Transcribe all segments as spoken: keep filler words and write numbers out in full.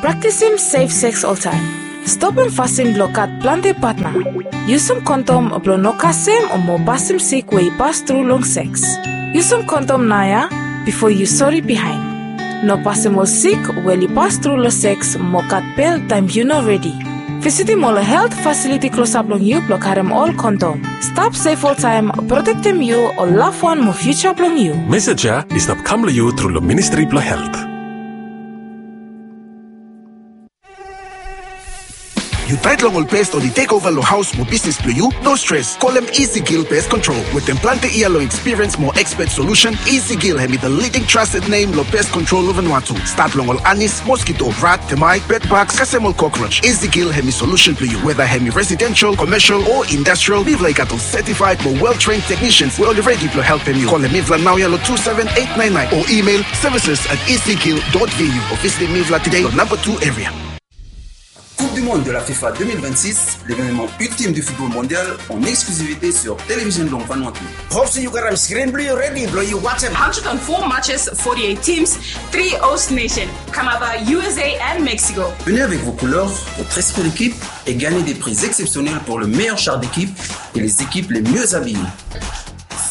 Praktisim sef seks oltaem. Stopim fasin blong gat plante patna. Yusum kondom blong no kasem o mo pasim sik we i pas tru long seks. Yusum kondom naoia bifo yu sori bihaen. No pasim ol sik we oli pas tru long seks mo gat bel taem yu no redi. Visitim ol helt fasiliti klosap long yu blong karem ol kondom. Stap sef oltaem, protektem yu, ol lafwan mo fiuja blong yu. Mesej ya i stap kam long yu tru long Ministri blong Helt. Yu taet long ol pes oli tekova long haos mo bisnis blong yu? No stres. Kolem Easy Kill Pest Control. Wetem plante yia long ekspiriens mo ekspet solusen, Easy Kill hemi the leading trusted name long pest control long Vanuatu. Stat long ol anis, moskito, rat, temaet, bedbaks, kasem ol kokroj. Easy Kill hemi solusen blong yu. Weda hemi residensel, komesel o industrial, mifala i gat ol setifaed mo wel tren teknisians we oli redi blong helpem yu. Kolem mifala naoia long two seven eight nine nine o imel services at easy kill dot V U o visitim mifala tede long namba two eria. Coupe du Monde de la FIFA deux mille vingt-six, l'événement ultime du football mondial en exclusivité sur Télévision Blanc Vanuatu. Hope se yu karem skrin blong yu redi blong yu wajem. Hundred and four matches, forty-eight teams, three host nation, Canada, U S A and Mexico. Venez avec vos couleurs, votre esprit d'équipe et gagnez des prix exceptionnels pour le meilleur char d'équipe et les équipes les mieux habillées.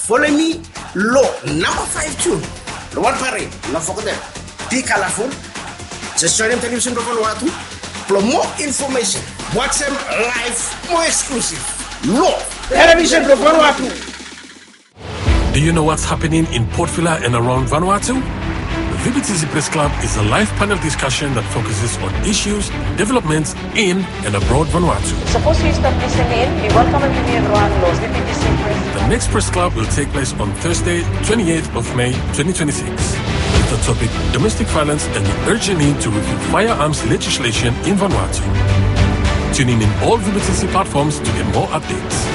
Folem mi long namba five tu long wan parade, no fogetem. Be colorful. Just joinem Television blong Vanuatu blong moa infomesen. Wajem laef mo eksklusif long Television blong Vanuatu. Do you know what's happening in Port Vila and around Vanuatu? The V B T C Press Club is a live panel discussion that focuses on issues, developments in and abroad Vanuatu. Sapos yu stap lisin in, mi welkamem yumi evriwan long V B T C Press. The next Press Club will take place on Thursday, twenty-eighth of May, twenty twenty-six, with the topic Domestic Violence and the Urgent Need to Review Firearms Legislation in Vanuatu. Tune in in all V B T C platforms to get more updates.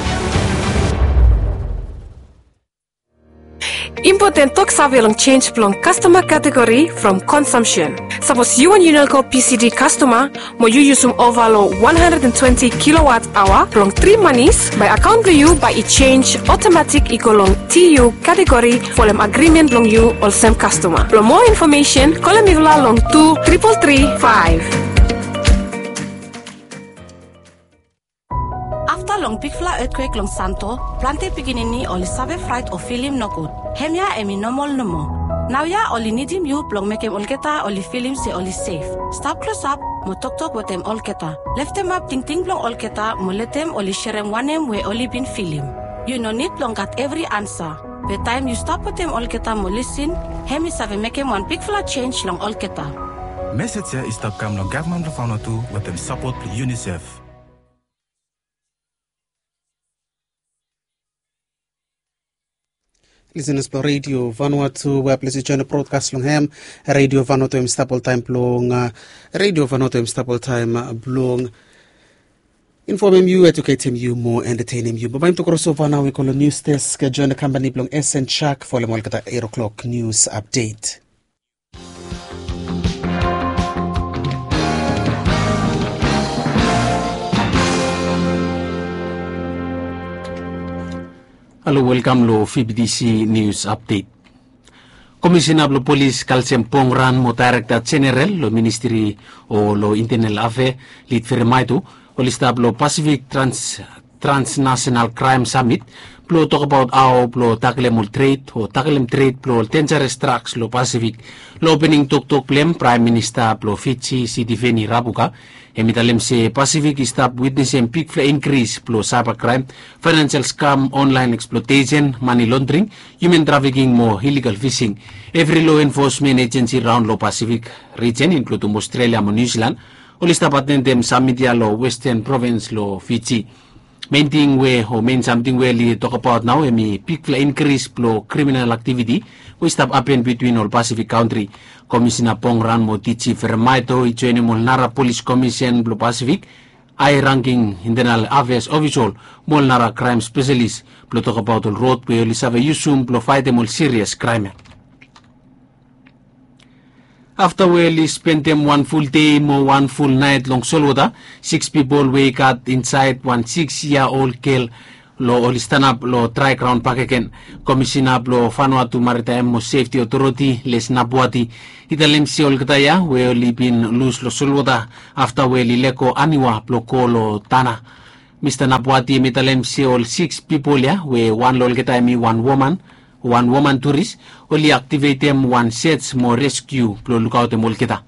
Impoten toksave long jenis blong kastoma kategori from konsumsen. Sapos yu wan Unelco P C D kastoma mo yu yusum ova long one hundred and twenty kilowatt aoa blong tri manis, bae akaon blong yu bae i jenis otomatik i go long T U kategori folem agrimen blong yu olsem kastoma. Blong moa infomesen, kolem mifala long tu tripol tri faef. Afta long bigfala etkwek long Santo, plante pikinini oli save fraet o filim nogud. Hemia hemi nomol nomo. Naoia oli nidim yu blong mekem olgeta oli filim se oli sef. Stap klosap mo toktok wetem olgeta. Leftemap tingting blong olgeta mo letem oli serem wanem we oli bin filim. Yu no nid blong gat evri ansa. Be taem yu stap wetem olgeta mo lisin, hemi save mekem wan bigfala jenis long olgeta. Mesej ya i stap kam long gavman blong Vanuatu wetem sapot blong UNICEF. Lisenas blong Redio Vanuatu, we ples yu joen brodkas long hem. Redio Vanuatu hem i stap oltaem blong, a, Redio Vanuatu hem i stap oltaem, a, blong infomem yu, eduketem yu mo entetenem yu. Bae mi tok krosova nao we go long nius desk, joen kampani blong S N Chak folem olgeta eit o'klok nius apdet. Halo, welkam long V B T C Nius Apdet. Komisena blong Polis Kalsem Pongran mo Daerekta Jeneral long Ministri o long Intenal Afea Lit Feremaito oli stap long Pasifik Trans Transnational Crime Summit blong tokbaot hao blong taklem ol tred o taklem tred blong ol denjares draks long Pasifik. Long opening toktok blong hem, Praem Minista blong Fiji, Sitiveni Rabuka, hem i talem se Pasifik i stap witnesem bigfala inkris blong saiba kraem, faenansial skam, onlaen eksploatesen, mane londring, hiuman trafiking mo ilegal fising. Evri lo enfosmen ejensi raon long Pasifik rijen, inkludum Ostrelia mo Niu Silan, oli stap atendem samit ya long Westen Provins long Fiji. Mein ting we, o mein samting we oli tokbaot nao, hemi bigfala inkris blong kriminal aktiviti we i stap hapen bitwin ol Pasifik kantri. Komisena Pongran mo D G Feremaito i joenem ol nara polis komisen blong Pasifik, hae rangking intenal afeas ofisol mo ol nara kraem speselis blong tokbaot ol rod we oli save yusum blong faetem ol sirias kraem ya. Afta we oli spendem wan ful dei mo wan ful naet long solwota, siks pipol we i gat insaed wan siks yia ol gel Lo oli stanap lo trae graon bakegen. Komisina blo Vanuatu Maritime mo Sefti Otoriti Les Napuati i talem se olgeta ya we oli bin lus lo solwota afta we oli lego aniwa blo go lo Tanna. Mista Napuati hem i talem se ol siks pipol ya we wan lo olgeta hem i wan woman, wan woman turis, oli aktivetem wan sej mo reskiu blo lukaotem olgeta.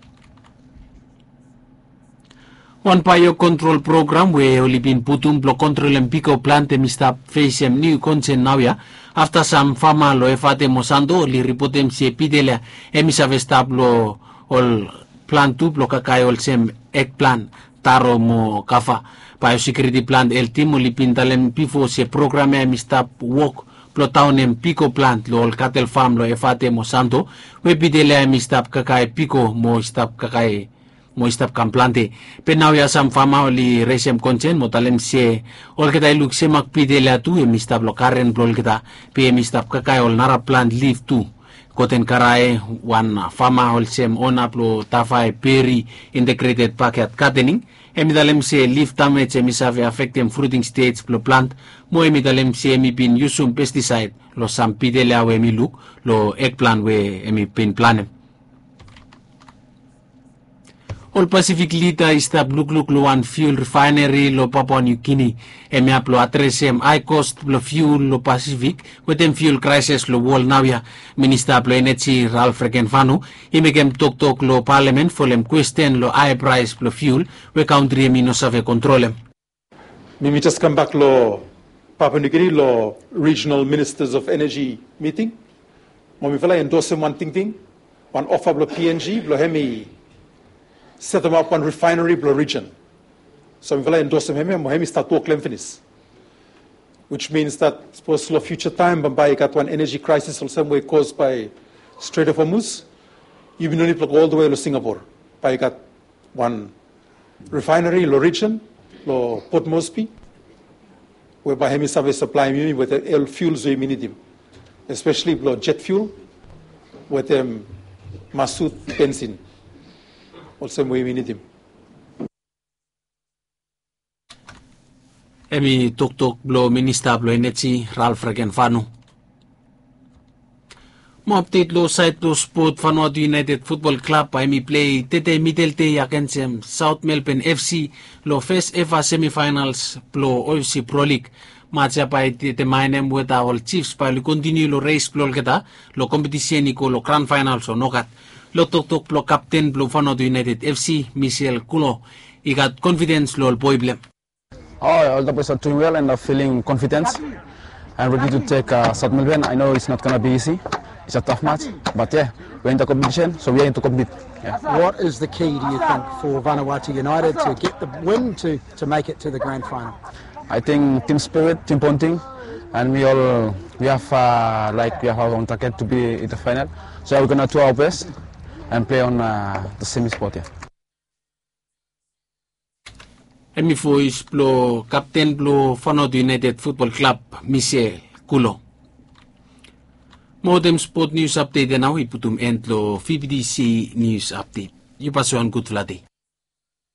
Wan baeo kontrol program we oli bin putum blo kontrolem piko plant hem i stap fesem niu konsen naoia afta sam fama lo Efate mo Santo oli ripotem se pidel ya hem i save stap lo ol plant tu blo kakae olsem ek plant, taro mo kava. Baeo sekiuriti plant eltim oli bin talem bifo se program ya hem i stap wok blo daonem piko plant lo ol katel fam lo Efate mo Santo we pidel ya hem i stap kakae piko mo i stap kakae mo i stap kam plante. Be naoia sam fama oli resem konsen mo talem se olgeta i luk semak pidel ya tu hem i stap lo garen blo olgeta be hem i stap kakae ol nara plant lif tu. Goten Karae, wan fama olsem ona blo Tavae Berry Integrated Backyard Gardening, hem i talem se lif damej hem i save afektem fruting stej blo plant mo hem i talem se hem i bin yusum pestisaed lo sam pidel ya we hem i luk lo ek plant we hem i bin planem. Ol Pasifik lida i stap lukluk lo wan fiul rifaeneri lo Papua Niu Gini. Hemia blo adresem hae kos blo fiul lo Pasifik wetem fiul kraeses lo wol naoia. Minista blo eneji Ralph Regenvanu i mekem toktok lo palamen folem kwesten lo hae praes blo fiul we kantri hemi no save kontrolem. Mi mi jes kambak lo Papua New Guinea lo Regional Ministers of Energy miting. Mo mifala i endosem wan tingting, wan ofa blo P N G blo hemi setemap wan refaeneri blo rijen. So mifala i endosem hemia mo hemi stat wok lo hem finis. Which means that sapos lo fiuja taem bambae i gat wan eneji kraesis olsem we i kos bae Strait of Hormuz, yumi no nid blo go oldewe lo Singapore bae i gat wan refaeneri lo rijen lo Port Moresby we bae hemi save saplaem yumi wetem ol fiuls we yumi nidim, espeseli blo jet fiul wetem masut bensin olsem we yumi nidim. Hemi toktok blo minista blo eneji Ralph Regenvanu. Mo apdet lo saed blo spot, Vanuatu United Futbol Klab bae hemi plei tede midel dei agensem South Melbourne F C lo fes eva semifaenals blo O F C Pro League. Maj ya bae i detemaenem weta ol Chiefs bae oli kontiniu lo res blo olgeta lo kompetisen i go lo gran faenals o nogat. Lo toktok blo kapten blo Vanuatu United F C, Michel Kulo, i gat konfidens lo ol boe blo hem. Oh, all the boys are doing well and are feeling confident and ready to take uh, South Melbourne. I know it's not going to be easy. It's a tough match, but yeah, we're in the competition, so we are in to compete. Yeah. What is the key, do you think, for Vanuatu United to get the win to, to make it to the grand final? I think team spirit, team bonding, and we all we have uh, like we have our own target to be in the final. So we're gonna do our best and play on uh, the semi spot. Yeah. Hemi voes blo kapten blo Vanuatu United Futbol Klab, Michel Kulo. Mo wetem spot nius apdet ya nao i putum en lo V B T C nius apdet. Yu bae save wan gudfala dei.